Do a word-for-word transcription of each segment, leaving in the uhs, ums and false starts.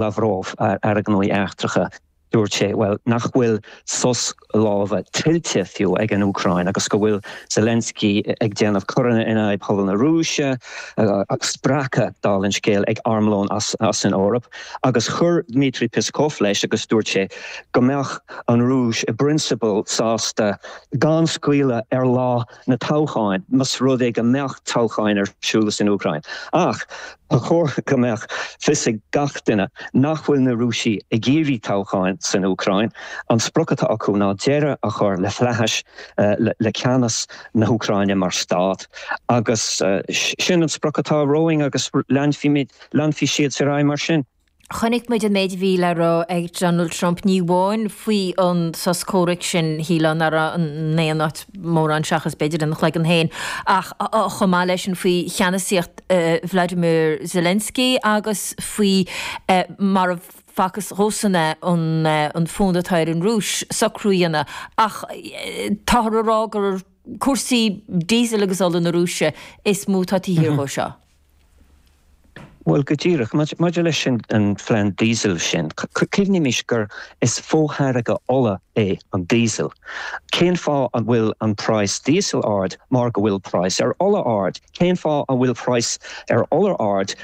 Lavrov, Aire Gnóthaí Eachtracha, dúirt sé, well, nach bhfuil sos láimhe tuillte fiú ag an Úcráin agus go bhfuil Zelensky ag déanamh coireanna in aghaidh phobal na Rúise, agus spreagtha, dála an scéil, ag armlón as, as an Eoraip. Agus chuir Dmitry Peskov leis agus dúirt sé go mbeadh an Rúis i bprionsabal sásta gan scaoileadh ar lá na toghcháin, más rud é go mbeadh toghcháin ar siúl san Úcráin. Ach ba chóir go mbeadh fios ag gach duine nach bhfuil na Rúisigh ag iarraidh toghcháin san Úcráin. An sprioc atá acu ná deireadh a chur le flaitheas, le ceannas na hÚcráine mar stát. Agus sin an sprioc atá romhainn agus leanfaimid, leanfaidh siad ar aghaidh mar sin. Chonaic muid an méid a bhí le rá ag Donald Trump, ní amháin faoi an sos comhraic sin, shílfeá nach raibh in aon áit mórán seachas b'fhéidir ina chloigeann féin, ach chomh maith leis sin faoi cheannasaíocht Vladimir Zelensky agus faoi mar a facthas dhósan é an fonn atá ar an Rúis socrú a dhéanamh. Ach táthar a rá gur cúrsaí díosail agus ola na Rúise is mó atá taobh thiar dhó seo. Bhuel, go díreach. Maidir leis an phlean díosail sin, cuimhnímis gur is fotháirge ola é an díosal. Cén fáth an bhfuil an praghas díosail ard? Mar go bhfuil praghas ar ola ard. Cén fáth an bhfuil praghas ar ola ard?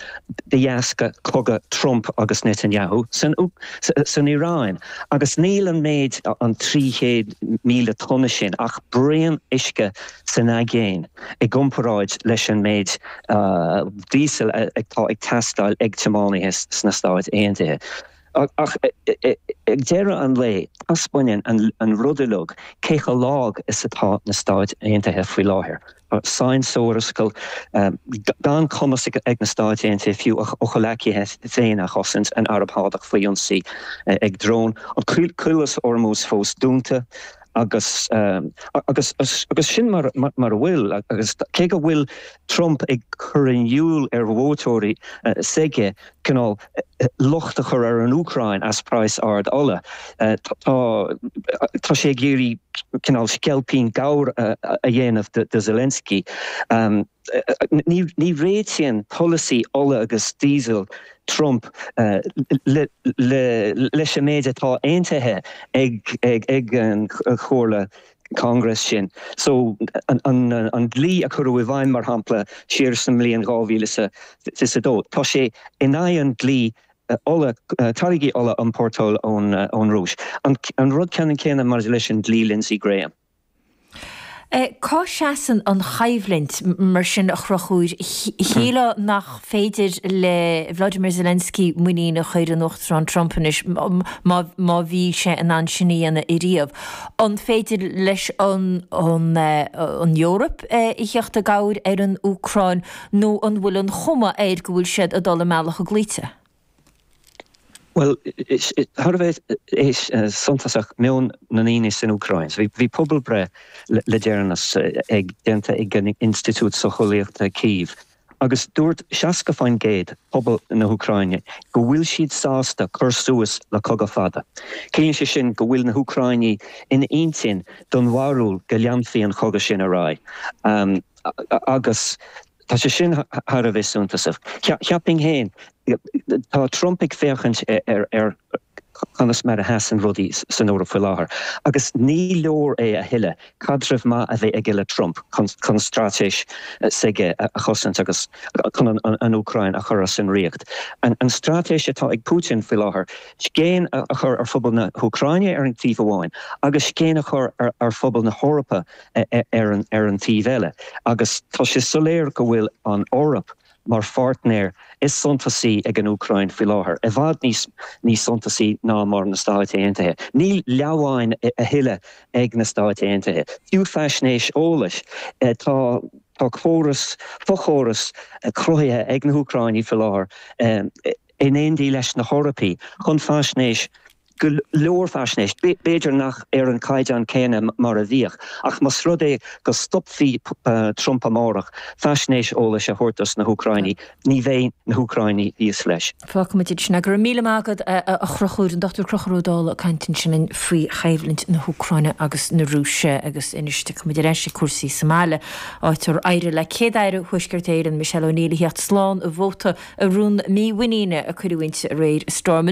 De dheasca cogadh Trump agus Netanyahu san san Iaráin. Agus níl an méid, an trí chéad míle tonna sin, ach braon uisce san aigéan i gcomparáid leis an méid díosail atá ag teastáil ag tiománaithe sna Stáit Aontaithe. Ach ag deireadh an lae, taispeánann an rud uilig cé chomh lag is atá na Stáit Aontaithe faoi láthair. Sáinn sa mhurascaill, gan cumas ag na Stáit Aontaithe fiú a gcomhghleacaithe féin a chosaint, an Araib Shádach faoi ionsaí ag drón, an Caolas Ormuz fós dúnta, agus agus agus sin mar mar a bhfuil. Agus cé go bhfuil Trump ag cur in iúl ar vótóirí s'aige cineál locht a chur ar an Úcráin as praghas ard ola, tá tá sé ag iarraidh cineál sceilpín gabhair a dhéanamh de Zelensky. Ní réitíonn polasaí ola agus díosail Trump leis an méid atá aontaithe ag an Chomhairle Congress sin. So an dlí a cuireadh i bhfeidhm, mar shampla, siar sa mbliain dhá mhíle is a fiche a dó, tá sé in aghaidh an dlí ola, táirgí ola a iompórtáil ón Rúis. An rud ceannann céanna maidir leis an dlí Lindsey Graham. Cá seasann an choimhlint mar sin, a Chonchúir? Shílfeá nach féidir le Vladimir Zelensky muinín a chur in Uachtarán Trump anois, má má bhí sé in ann sin a dhéanamh ariamh. An féidir leis an an Eoraip a theacht i gcabhair ar an Úcráin nó an bhfuil an chuma air go bhfuil siad ag dul i mbealach a gcloíte? Bhuel, thar a bheith suntasach meon na ndaoine san Úcráin. Bhí pobalbhreith le deireanas ag déanta ag an Institiúid Socheolaíochta Kyiv agus dúirt seasca faoin gcéad pobal na hÚcráine go bhfuil siad sásta cur suas le cogadh fada. Ciallaíonn sé sin go bhfuil na hÚcráinigh ina intinn den bharúil go leanfaidh an cogadh sin ar aghaidh. Agus tá sé sin thar a bheith suntasach. Cheapfainn féin, tá Trump ag féachaint ar ar conas mar a sheasann rudaí san Eoraip faoi láthair, agus ní leor é a thuilleadh caidreamh maith a bheith aige le Trump chun chun straitéis s'aige a chosaint agus chun an Úcráin a chur as an riocht. An straitéis atá ag Putin faoi láthair, scéin a chur ar phobal na hÚcráine ar an taobh amháin agus scéin a chur ar phobal na hEorpa ar an ar an taobh eile, agus tá sé soiléir go bhfuil an Eoraip mar pháirtnéir is suntasaí ag an Úcráin faoi láthair, i bhfad níos níos suntasaí ná mar na Stáit Aontaithe. Níl leamhain a thuilleadh ag na Stáit Aontaithe. Fiú faisnéis eolais, tá tá córas, fochóras cruthaithe ag na hÚcráinigh faoi láthair in éindí leis na hEorpaigh chun faisnéis go leor faisnéis, b'fhéidir nach ar an caighdeán céanna mar a bhíodh, ach más rud é go stopfaí Trump amárach faisnéis eolais a thabhairt dos na hÚcráinigh, ní bheidh na hÚcráinigh thíos leis. Fágfaimid ansin é. Go raibh míle maith agat a Chonchúir, an Dochtúir Conchúr Ó Dálaigh ag caint ansin linn faoi choimhlint na hÚcráine agus na Rúise agus anois tiocfaimid ar ais ag cúrsaí sa mbaile, áit ar éirigh le Céad-Aire Thuaisceart Éireann, Michelle O'Neill a theacht slán i vóta i rún mímhuiníne a cuireadh inti aréir i Stormont.